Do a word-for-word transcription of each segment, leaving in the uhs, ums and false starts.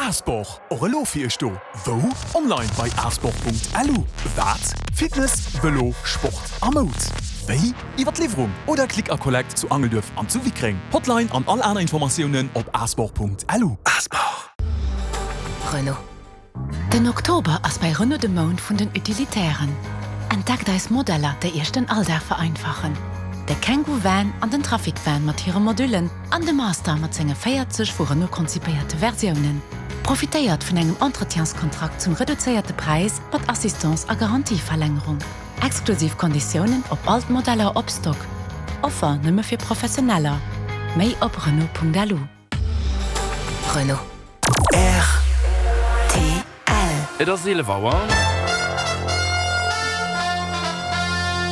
Asport, och elo fir iech do. Wou? Online bei asport.lu. Wat? Fitness, Vëlo, Sport a Moud. Wéi? Iwwer d'Liwwerung oder Click a Collect zu Angelduerf an zu Wickreng. Hotline an all aner Informatiounen op asport.lu. Asport. Renault. Den Oktober ass bei Renault de Mount vun den Utilitairen. Entdeckt eis Modeller, déi Iech den Alldag vereinfachen. De Kangoo Van an den Trafic Van mat hire Modullen an de Master mat senge véierzeg vu Renault konzipéierte Versiounen. Profitéiert vun engem Entretienskontrakt zum reduzéierte Präis mat Assistance a Garantieverlängerung. Exklusiv Konditiounen op all d'Modeller op Stock. Offer nëmme fir Professioneller. Méi op Renault.lu. Renault. Rtl. Et ass eelef Auer.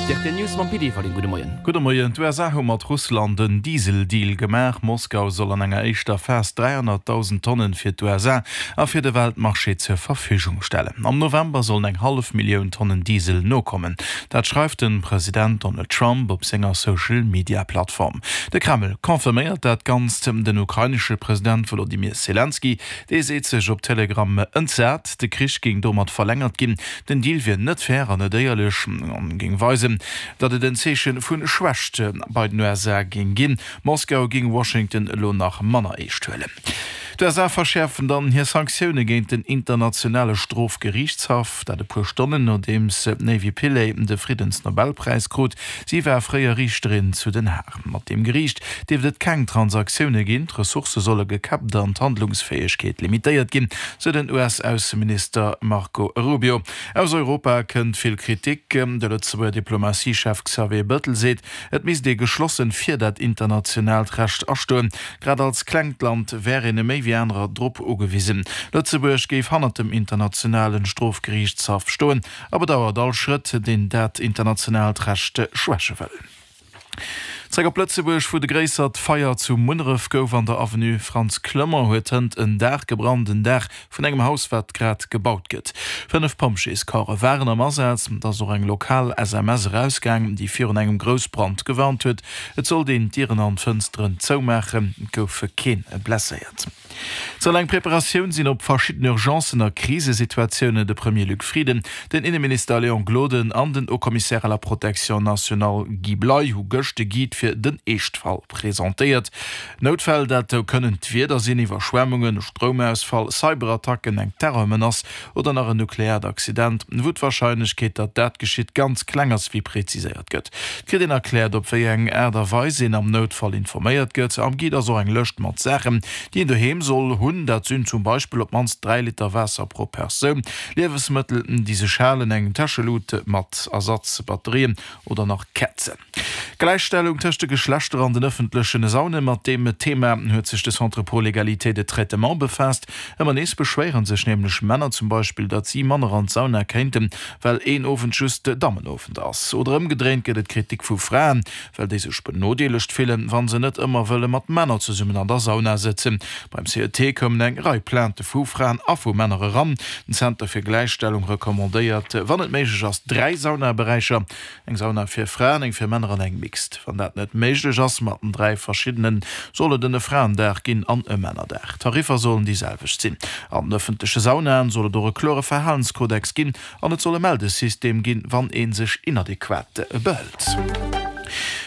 D'R T L News mam Pit Everling. Gudde Moien. Gudde Moien. D'U S A hu mat Russland en Diesel-Deal gemaach. Moskau soll an enger éischter Phas dräihonnertdausend Tonnen fir d'U S A a fir de Weltmarché zur Verfügung stellen. Am November sollen eng hallef Millioun Tonnen Diesel nokommen. Dat schreift de President Donald Trump op senger Social-Media-Plattform. De Kreml confirméiert dat Ganzt. Den ukrainesche President Wolodymyr Selenskyj, dee seet sech op Telegram entsat, de Krich géing domat verlängert ginn. Den Deal wier net fair an net éierlech an géing weisen, datt et en Zeeche vu Schwächt bei den U S A géing ginn. Moskau géing Washington elo nach manner eescht huelen. D'U S A verschäerfen dann hir Sanktioune géint den internationale Strofgeriichtshaff, dat e puer Stonnen nodeems d'Navi Pillay de Friddensnobelpräis krut. Si war fréier Riichterin zu Den Haag. Mat deem Geriicht dierft et keng Transaktioune ginn, d'Ressourcë solle gekäppt an d'Handlungsfäegkeet limitéiert ginn, sou den U S-Ausseminister Marco Rubio. Aus Europa kënnt vill Kritik. De Lëtzebuerger Diplomatiechef Xavier Bettel seet, et misst ee geschlossen fir dat internationaalt Recht astoen. Grad als klengt Land wär een méi wéi anerer drop ugewisen. Lëtzebuerg géif hannert dem internationale Strofgeriichtshaff stoen a bedauert all Schrëtt, deen dat internationaalt Recht schwäche wëll. Zréck op Lëtzebuerg, wou de gréissert Feier zu Munneref gouf. An der Avenue Frantz Clement huet hënt en Daach gebrannt, en Daach vun engem Haus, wat grad gebaut gëtt. Fënnef Pompjeescorpse waren am Asaz. Et ass och eng lokal S M S erausgaang, déi virun engem Groussbrand gewarnt huet. Et sollt een d'Dieren an d'Fënsteren zoumaachen. Et gouf kee blesséiert. Et soll eng Preparatioun sinn op verschidden Urgencen a Krisesituatiounen. De Premier Luc Frieden, den Inneminister Léon Gloden an den Haut-Commissaire à la protection nationale Guy Bley hu gëscht de Guide fir den Eeschtfall presentéiert. Noutfäll, dat kënnen d'Wieder sinn, Iwwerschwemmungen, Stroumausfall, Cyberattacken, eng Terrormenace oder nach en nukleaert Accident, wou d'Warscheinlechkeet, datt dat geschitt, ganz kleng ass, wéi preziséiert gëtt. Et kritt een erkläert, op wéi eng Aart a Weis een am Noutfall informéiert gëtt. Am Guide ass och eng Lëscht mat Saachen, déi een doheem soll hunn. Dat sinn zum Beispill op d'mannst dräi Liter Waasser pro Persoun, Liewensmëttel, déi sech halen, eng Täschelut mat Ersatzbatterien oder nach Käerzen. Gläichstellung tëscht de Geschlechter an den ëffentlechen Saunen, mat deem Thema huet sech de Centre pour l'égalité de traitement befaasst. Ëmmer nees beschwéiere sech nämlech Männer zum Beispill, datt si manner an d'Sauna kéinten, well een Owend just Dammenowend ass. Oder ëmgedréint gëtt et Kritik vu Fraen, well déi sech benodeelegt fillen, wa se net ëmmer wëlle mat Männer zesummen an der Sauna sëtzen. Beim C E T koumen eng Rei Plainte vu Fraen a vu Männer eran. Den Zenter fir Gläichstellung recommandéiert, wann et méiglech ass, dräi Saunaberäicher, eng Sauna fir Fraen, eng fir Männer an eng mixed. Wann dat net méiglech ass mat den dräi verschiddenen, soll et e Fraendag ginn an e Männerdag. Tariffer sollen déi selwecht sinn. An den ëffentleche Saunaen soll et och e klore Verhalenskodex ginn an et soll e Meldesystem ginn, wann ee sech inadequat behëlt.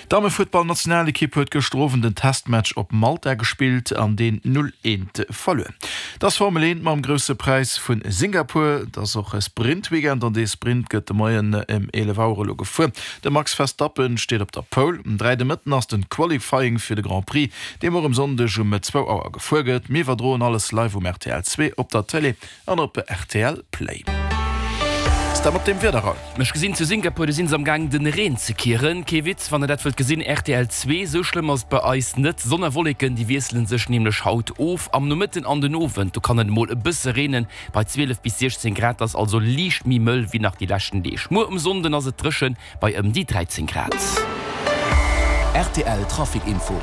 D'Dammefuttballnationalekipp huet gëschter Owend den Testmatch op Malta gespillt an deen null eent verluer. Et ass Formel eent mam Grousse Präis vu Singapur. Et ass och e Sprint-Weekend an dee Sprint gëtt de Moien ëm eelef Auer elo gefuer. De Max Verstappen steet op der Pole. Um dräi de Mëtten ass den Qualifying fir de Grand Prix, dee muer um Sonndeg um zwou Auer gefuer gëtt. Mir iwwerdroen alles live um R T L zwee, op der Télé an op R T L Play. Ass dat mat deem Wieder Raoul? Ech gesinn zu Singapur, do sinn se am Gaang den Reen ze kieren. Kee Witz, wann der dat wëllt gesinn, R T L zwee. Sou schlëmm ass et bei eis net. Sonn a Wolleken, déi wiesselen sech nämlech haut of. Am Nomëtten an den Owend, do kann et emol e bësse reenen, bei zwielef bis siechzéng Grad. Ass also liicht méi mëll wéi nach déi leschten Deeg. Muer um Sonnden ass et dréchen, bei ëm déi dräizéng Grad. R T L Trafic Info.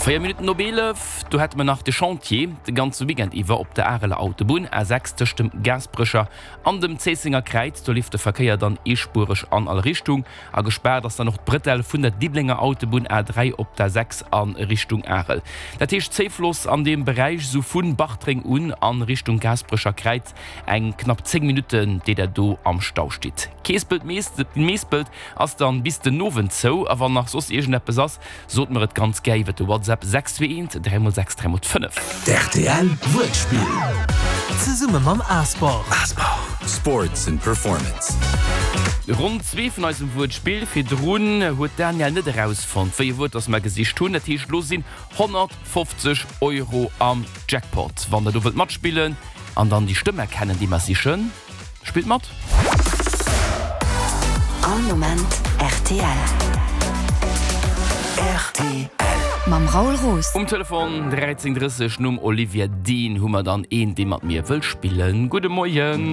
Véier Minutten op eelef, do hätte mer nach de Chantier de ganze Weekend iwwer op der Areler Autobunn, A sechs, tëscht dem Gaasperecher an dem Zéissenger Kräiz. Do leeft de Verkéier dann eespuereg an all Richtung. A gespaart ass dann och d'Bretelle vun der Diddelenger Autobunn, A dräi, op der sechs a Richtung Arel. Dat heescht Zéifloss an deem Beräich, sou vu Bartreng un a Richtung Gaasperecher Kräiz, eng knapp zéng Minutten, déi der do am Stau stitt. Keespelt-Meespelt ass dann bis den Owend zou. A wann nach soss iergendeppes ass, sot mer et ganz gär iwwer de WhatsApp sechs zwee eent dräi mol sechs dräi mol fënnef. D'RTL Wuertspill zesumme mam Asport. Sports and Performance. Ronn zwee vun eisem Wuertspill. Virdrun huet d'Danièle net erausfonnt, wéi e Wuert dass mer gesicht hunn. Dat heescht, lo sinn honnertfofzeg Euro am Jackpot. Wann der do wëllt matspillen an dann déi Stëmm erkennen, déi mer sichen, spillt mat! All Moment rtl. Rtl. Mam Raoul Roos. Um Telefon dräizéng drësseg nom Olivia Dean hu mer dann een, dee mat mir wëll spillen. Gudde Moien.